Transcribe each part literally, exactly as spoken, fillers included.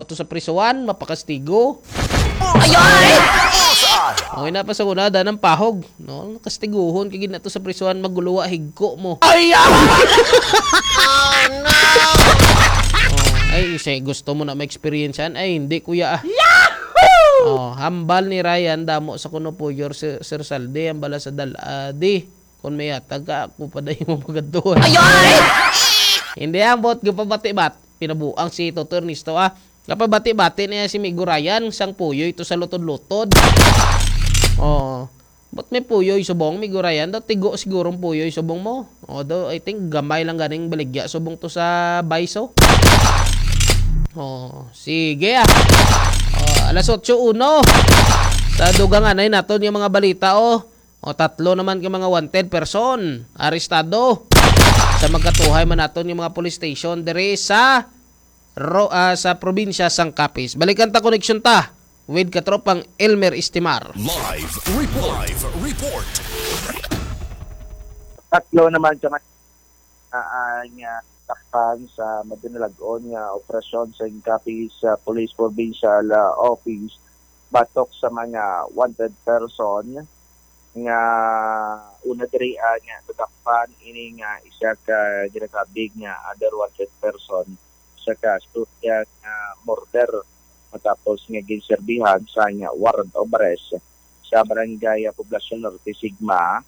to sa prisuhan, mapakastigo. Ay, ay! Okay na pa sa una, daan ang pahog. No? Kastiguhon kay gid na to sa prisuhan, maguluwa, higko mo. Ay, ah! Oh, ay, say, gusto mo na ma-experience yan? Ay, hindi, kuya, ah. Oh, hambal ni Ryan, damo sa kuno puyor, Sir, Sir Saldi, ang bala sa daladi. Kung may atag ka, ako pa dahil mo pagadtuhan. Ay, ay! Hindi ang bot, gapabati-bat. Pinabuang si Toto Ernesto, ah. Kapabati-bati niya si Migo Ryan, sang puyoy to sa lutod-lutod. Oh. Ba't may puyoy subong, Migo Ryan? Daw tigo siguro ang puyoy subong mo. Although, I think, gamay lang ganing baligya subong to sa baiso. Oh, sige, ah. Oh, alas otso uno. Sa dugang anay naton yung mga balita, oh. O, tatlo naman ka mga wanted person arestado sa magkatuhay man naton yung mga police station diri sa Ro-, ah, sa probinsya sang Capiz. Balikan ta, connection ta with katropang Elmer Estimar. Live report. Live report. Tatlo naman ka ah, nga takpan sa madinalag-on nga operasyon sa Capiz, ah, Police Provincial, ah, Office batok sa mga wanted person nga una diri, ah, nga natakpan ini nga isa ka ginakabig nga under wanted person sa kaso nga murder matapos nga ginserbihan sa nga warrant of arrest sa Barangay, ah, Poblacion Norte, Sigma,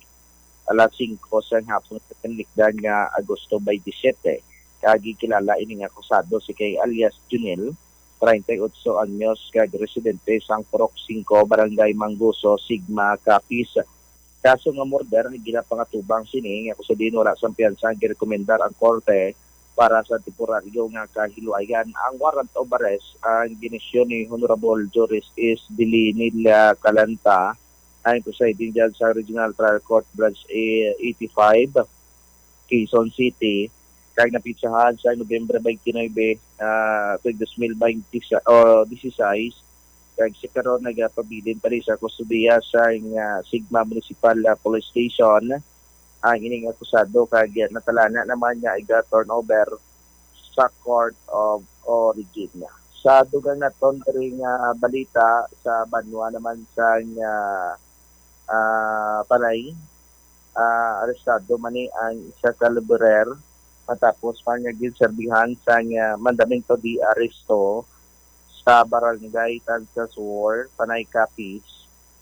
alas singko sa hapon sa kanikdan nga Agosto twenty-seven, kag gikilala ini nga akusado si kay alias Junel, treinta y ocho anyos, kag residente sang Purok singko, Barangay Manguso, Sigma, Capiz. Kaso nga murder, ginapangatubang sini nga kung sa diin wala sang piyansa, girekomendar ang korte para sa temporaryo nga kahilwayan. Ang warrant of arrest ang ginisyu ni Honorable Juris S. Delinil Calanta, ang presiding judge sa Regional Trial Court Branch eighty-five, Quezon City, kag napitsahan sa Nobyembre twenty-nine, ah, tuig dos mil twenty-six, o disisais, kag sa karon nagapabilin pa rin sa kustodiya sa, ah, Sigma Municipal, ah, Police Station ang ining akusado, kag natalana naman nga iga-turnover sa court of origin. Sa dugang naton diri nga balita, sa banwa naman sa, ah, ah, Panay, ah, arestado man ni ang isa ka laborer matapos pa nga ginserbihan sang, ah, mandamento de arresto sa Barangay Tansasur, Panay, Capiz,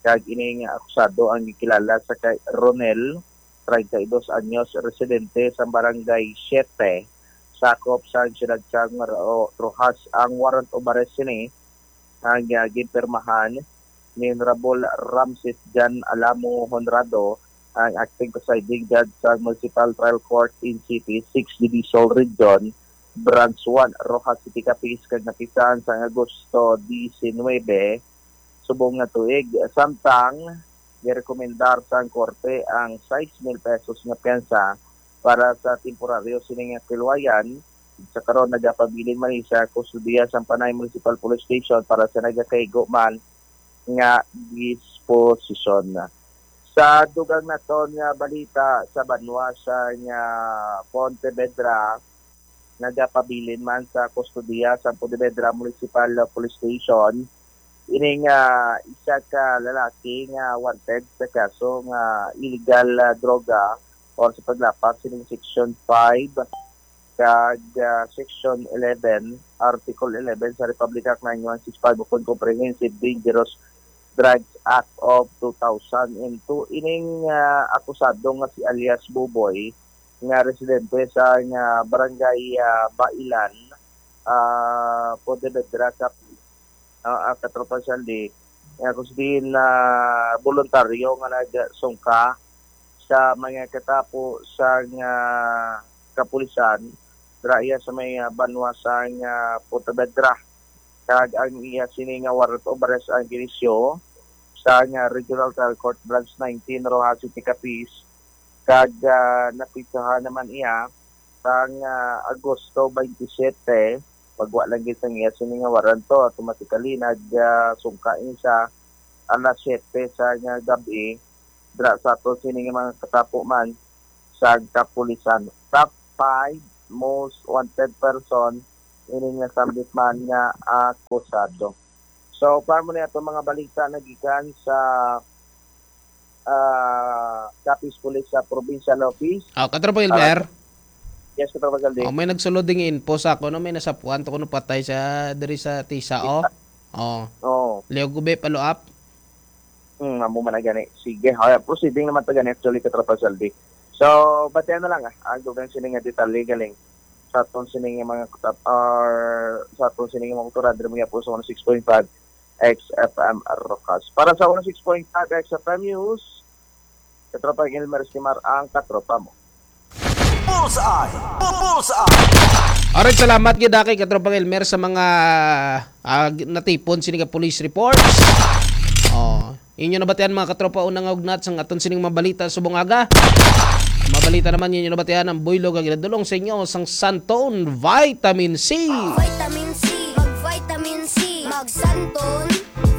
kag ini nga akusado ang gikilala sa kay Ronel, treinta y dos anyos, residente sa Barangay Siete, sakop sa siyudad sang Ro-, Roxas. Ang warrant of arrest sini ang, ah, ginpirmahan ni Honorable Ramses Jan Alamo Honrado, ang acting presiding judge sa Municipal Trial Court in City, Sixth Division Region, Branch one, Roxas City, Capiz, kag napisan sang Agosto diecinuebe, subong nga tuig. Samtang girekomendar sang korte ang sais mil pesos nga piyansa para sa temporaryo sini nga kilwayan. Sa karon, nagapabilin man ni sa kustodiya sang Panay Municipal Police Station para sa nagakaigo man nga disposisyon. Sa dugang naton nga balita, sa banwa sa nga Pontevedra, nagapabilin man sa kustodiya sa Pontevedra Municipal Police Station ining, ah, isa ka lalaki nga wanted sa kaso nga illegal, ah, droga or sa paglapas sining Section five kag, ah, Section eleven, Article eleven sa Republic Act nine one six five ukon Comprehensive Dangerous Drugs Act of two thousand and two. Ining, ah, akusado nga si alias Buboy, nga residente sa nga barangay, ah, Bailan, ah, Pontevedra, Capiz, ah, ah, Katropa Shandy, nga kung sa diin na voluntaryo nga nagsungka sa mga katapo sa nga kapulisan, dira iya sa may, ah, banwa sa nga Pontevedra. Kag ang iya sini nga warrant of arrest ang ginisyu sa nga Regional Trial Court Branch nineteen, Roxas City, Capiz, kag, ah, napitsahan naman iya sang, ah, Agosto twenty-seven, pag wa lang gid sang iya sini nga warrant, automatically nag, ah, sungka ini sa alas siyete sa nga gab-i, dira sa aton sini nga mga katapo man sa kapulisan. Top five most wanted person ining nasambit man nga akusado. So, para mo na ito mga balita na gikan sa ah, Capiz Police sa Provincial Office. Oh, Katropa Elmer. Yes, Katropa Saldi. Oh, may nagsulod ding info sa ako, no? May nasapuan to kuno patay sa diri sa Tisa, oh. Oh. Oh. Leo Gube, follow up. Hmm, amo man na gani. Sige, ha, proceeding naman ta gani actually, Katropa Saldi. So, batian na lang, ah, ang dugang sini nga detalye galing sa aton sini nga mga katap-, or sa aton sini nga mga kultura, diri mo po sa one oh six point five X F M Rokas. Para sa one oh six point five X F M News, Katropa Elmer Estimar ang katropa mo. Bullseye! Bu-, Bullseye! Alright, salamat gyud kay Katropang Elmer sa mga, ah, natipon sini nga police reports. Oh, inyo nabatian, mga katropa, unang ugnat sang aton sining mabalita subong aga. Mabalita naman, inyo nabatian ang buylog nga ginadulong sa inyo sang Santon Vitamin C. Vitamin C, mag-vitamin C, mag-Santon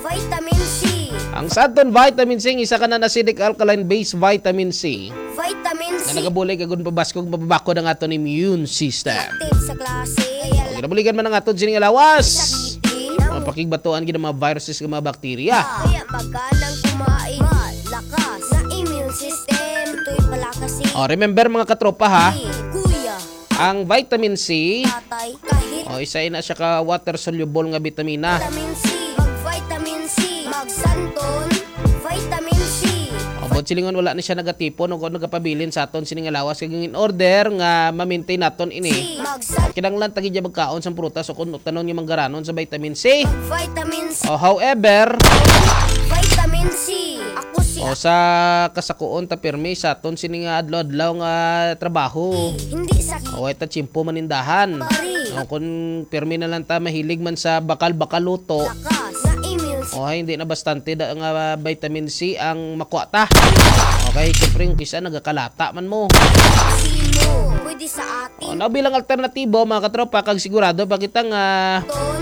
Vitamin C. Ang Santon Vitamin C, isa ka non-acidic alkaline base vitamin C. Vitamin C. Na nagabulig agon pabaskog, mapabakod ang aton immune system. Active sa klase. Kaya lang ginabuligan man ang aton sini nga lawas. Sakitin. Mapakigbatuan gid ang mga viruses ug mga bakterya. Kaya maganang kumain. Malakas na immune system. Ito'y palakas si Oh, remember, mga katropa, ha? Kuya. Ang vitamin C, Tatay, kahit o, isa ina siya ka water soluble nga bitamina. Vitamin C, mag-vitamin C, mag-Santon, vitamin C. O, buot silingon, wala ni siya nagatipon o nagapabilin sa aton sini nga lawas, kag in order nga ma-maintain naton ini, C, mag-San- kinahanglan ta gid magkaon sang prutas o kun tanon nga manggaranon sa vitamin C. Vitamin C. O, however, Vitamin C. Ako si O, sa kasakuon ta pirmi sa aton sini nga adlaw-adlaw nga trabaho. Hindi sa O, way ta tiyempo manindahan. Pari. O, kung pirmi na lang ta mahilig man sa bakal-bakal luto, Lakas na immune system. O, ay, hindi na bastante da, nga vitamin C ang makuha ta. Okay, siyempre, yung kisa nagakalata man mo. Sino? Pwede sa atin. O, na bilang alternatibo, mga katropa, kag sigurado pa kita nga Ton.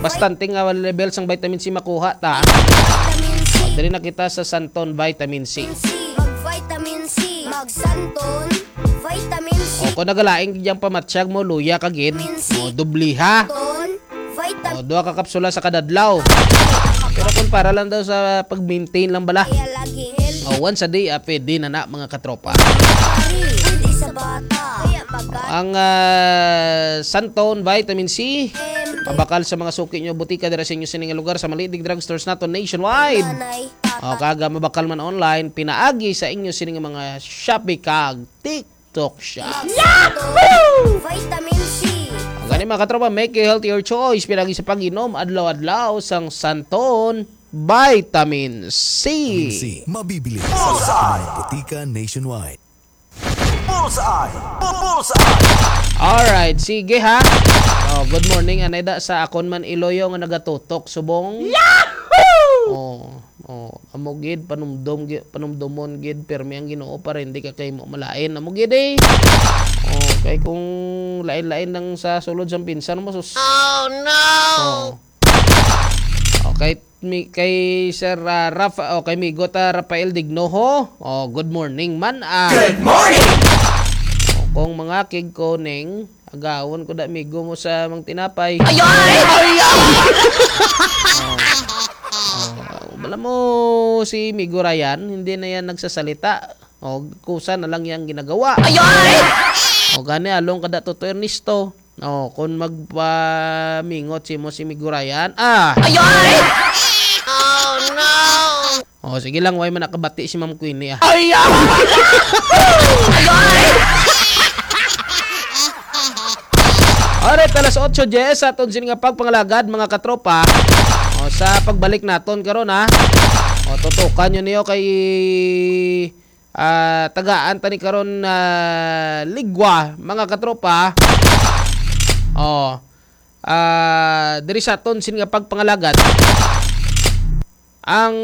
Bastante nga level sang vitamin C makuha ta. Vitamin C. O, diri na kita sa Santon Vitamin C. C. Mag-vitamin C. Mag-Santon Vitamin C. O, kung nagalaing yang pamatsyag mo, luya ka gid. Vitamin C. O, dubliha. Ton. Vitamin O, duha ka kapsula sa kada adlaw. Pero kung para lang daw sa pag-maintain lang bala. Kaya lagi healthy. O, once a day, ah, pwede na na, mga katropa. Pwede sa bata. Kaya mag- Ang, ah, Santon Vitamin C, M. Mabakal sa mga suki nyo, butika dira sa inyo sining lugar, sa malidig drugstores nato nationwide. Nanay, tatay. O, kaga mabakal man online, pinaagi sa inyo sining mga Shopee kag TikTok Shop. Yahoo! Vitamin C. Ang gani, mga katropa, make a healthier choice, pinaagi sa pag-inom adlaw-adlaw sang Santon Vitamin C. Vitamin C, mabibili sa lahat ng mga butika nationwide. Bullseye! Bu-, Bullseye! Alright, sige ha. Oh, good morning, anay da sa akon man iloyo nga nagatutok subong. Yahoo! Oh, oh, amo gid, panumdom gi-, panumdomon gid, pirmi ang Ginoo para hindi ka kay mo malain. Amo gid eh. Oh, kay kung lain-lain lang sa sulod sang pinsan mo, sus. Oh, no! Oh. Okay, mi-, kay Sir, ah, Rafa, o kay Migo ta Rafael Dignoho. Oh, good morning man, ah. Good morning! O, kung mga kig ko ning, agawon ko da migo mo sa mang tinapay. Ayoy! Ayoy! Oh. Oh, alam mo, si Migo Ryan, hindi na yan nagsasalita. O, kusa na lang yang ginagawa. Ayoy! O, gani, along kada Toto Ernesto. O, kung magpamingot si mo si Migurayan, ah! Ayoy! Oh, no! O, sige lang, way man nakabati si Ma'am Queenie, ah. Ay, ah! Ayoy! Alright, alas otso diyes sa aton sini nga pagpangalagad, mga katropa. O, sa pagbalik naton karon, ha. O, tutukan nyo niyo kay ah, tagaan tani karon na ligwa, mga katropa. Oh, ah, diri sa aton sin nga pagpangalagad, ang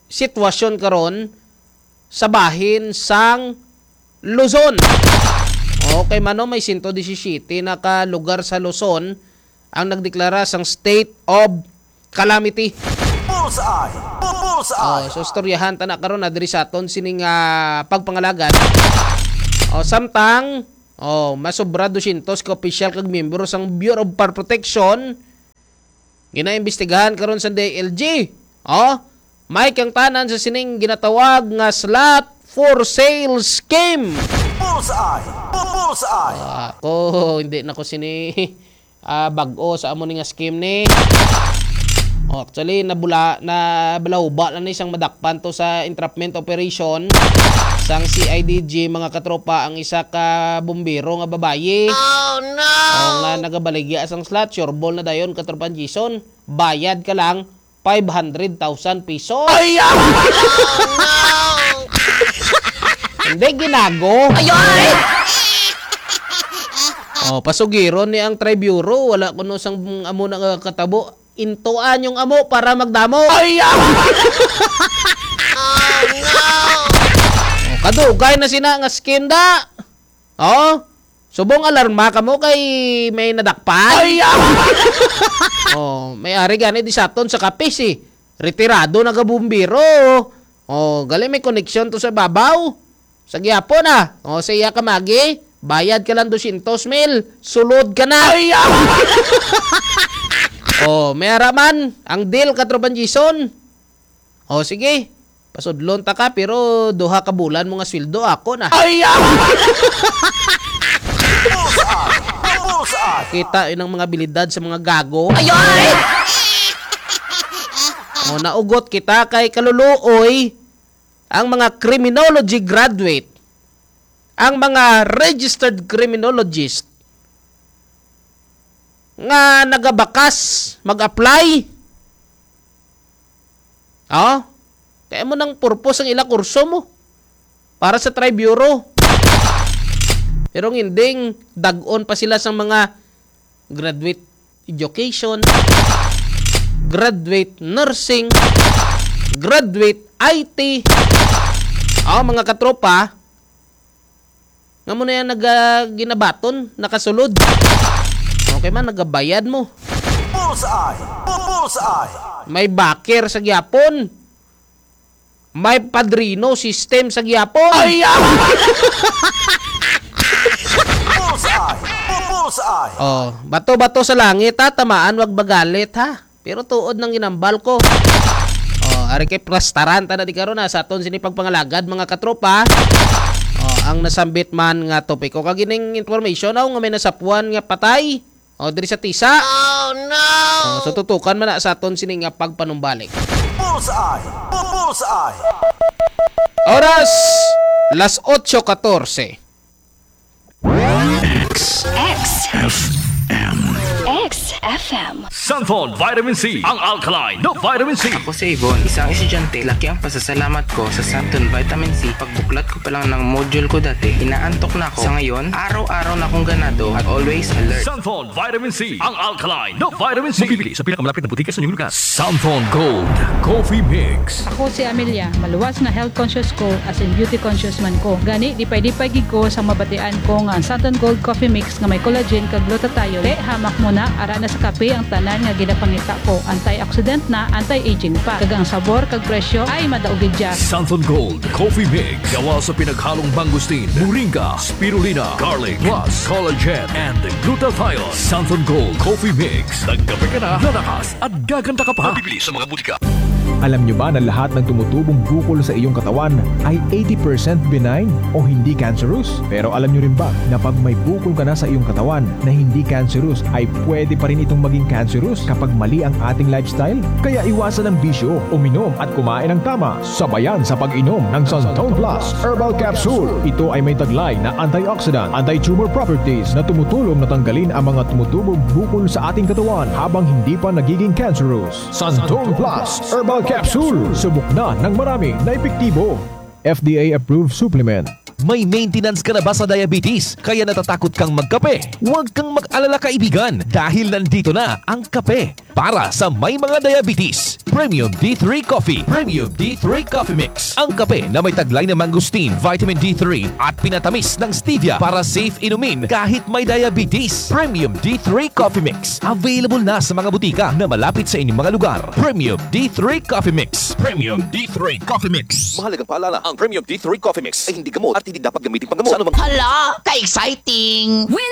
sitwasyon karon sa bahin sang Luzon. Okay, mano, may sento disisiyete na ka lugar sa Luzon ang nagdeklara sang state of calamity. Bullseye! Bu-, Bullseye! Oh, so, istoryahan ta na karon na diri sa aton sining, ah, pagpangalagad. Oh, samtang, Oh, masobra dusyentos ka opisyal kag miyembro sang Bureau of Fire Protection ginaimbestigahan karon sa D I L G. Oh, may kangtanan sa sining ginatawag nga slot for sale scheme. Bullseye! Bullseye! Ah, ako, hindi na ko sini ah, bag-o sa amo ni nga scheme ni. Oh, actually, nabula-, nabalawba lang ni sang madakpan to sa entrapment operation sang C I D G, mga katropa, ang isa ka bumbero nga babayi. Oh, no! Oh, nga nagabaligya sang slot, sure ball na dayon, katropa Jason. Bayad ka lang five hundred thousand pesos. Ay, ah! Hindi, ginago. Ay, ay! Oh, pasugiron ni ang Triburo, wala kuno sang amo na nga katabo. Intuan yung amo para magdamo. Ay, ah! Oh, kadugay na sina nga scheme da. Oh, subong alarma kamo kay may nadakpan. Ay, ah! Oh, may ari gani di sa aton sa Capiz, eh. Retirado na ka bumbero. Oh, gali may koneksyon to sa babaw. Sa gihapon, ah. Oh, sa iya ka magi, bayad ka lang dosyentos mil, sulod ka na. Ay, ah! Oh, may ara man ang deal, Katropan Jason. Oh, sige. Pasudlon ta ka, pero duha ka bulan mo nga sweldo ako na. Ay, ah! Bullseye! Bullseye! Kita yun ang mga abilidad sa mga gago. Ay, ay! Oh, naugot kita kay kaluluoy ang mga criminology graduate, ang mga registered criminologist nga nagabakas mag-apply. Oh? Kaya mo nang purpose ang ila kurso mo para sa Triburo. Pero ang ending, dag-on pa sila sa mga graduate education, graduate nursing, graduate I T. Oh, mga katropa, nga mo na yan nag, ah, ginabaton, nakasulod. Okay man, nagabayad mo. Bullseye! Bullseye! May backer sa gyapon. May padrino system sa gyapon. Ay, ah! Bullseye! Bullseye! Oh, bato-bato sa langit, ha? Tamaan, wag magalit, ha? Pero tuod nang ginambal ko. Oh, ari kay plastaran ta na di karon, ha, sa aton sini pagpangalagad, mga katropa. Oh, ang nasambit man nga topiko. Kag ining information, oh, nga may nasapuan nga patay. Oh, diri sa Tisa. Oh, no! Oh, so tutukan man na sa aton sini nga pagpanumbalik. Bullseye! Bullseye! Oras, las otso katorse. X. X. F M. X F M. Santhon Vitamin C, ang alkaline na vitamin C. Ako si Yvonne, isang estudyante. Laki ang pasasalamat ko sa Santon Vitamin C. Pagbuklat ko pa lang ng module ko dati, inaantok na ako. Sa ngayon, araw-araw na akong ganado at always alert. Santon Vitamin C, ang alkaline na vitamin C. Mabibili sa pinakamalapit na butika sa inyong lugar. Santon Gold Coffee Mix. Ako si Amelia, maluwas nga health conscious ko as in beauty conscious man ko. Gani, dipay-dipay gid ko sa mabatian ko nga ang Santon Gold Coffee Mix nga may collagen kag glutathione. Te, hamak mo na, ara na sa kape ang tanan nga ginapangita ko. Antioxidant na, anti-aging pa. Kag ang sabor kag presyo ay madaog gid siya. Santon Gold Coffee Mix. Gawa sa pinaghalong mangosteen, moringa, spirulina, garlic, plus collagen and glutathione. Santon Gold Coffee Mix. Nagkape ka na, lalakas at gaganda ka pa. Mabibili sa mga butika. Alam nyo ba na lahat ng tumutubong bukol sa iyong katawan ay eighty percent benign o hindi cancerous? Pero alam nyo rin ba na pag may bukol ka na sa iyong katawan na hindi cancerous, ay pwede pa rin itong maging cancerous kapag mali ang ating lifestyle? Kaya iwasan ang bisyo, uminom at kumain ng tama. Sabayan sa pag-inom ng Santon Plus Herbal Capsule. Ito ay may taglay na antioxidant, anti-tumor properties na tumutulong na tanggalin ang mga tumutubong bukol sa ating katawan habang hindi pa nagiging cancerous. Santon Plus Herbal Capsule. Subok na ng marami na epektibo. F D A approved supplement. May maintenance ka na ba sa diabetes? Kaya natatakot kang magkape? Huwag kang mag-alala, kaibigan, dahil nandito na ang kape. Para sa may mga diabetes, Premium D three Coffee. Premium D three Coffee Mix. Ang kape na may taglay na mangosteen, vitamin D three, at pinatamis ng stevia para safe inumin kahit may diabetes. Premium D three Coffee Mix. Available na sa mga butika na malapit sa inyong mga lugar. Premium D three Coffee Mix. Premium D three Coffee Mix. Mahalagang paalala, ang Premium D three Coffee Mix ay hindi gamot at hindi dapat gamitin panggamot. Sa anumang Hala, ka-exciting! Win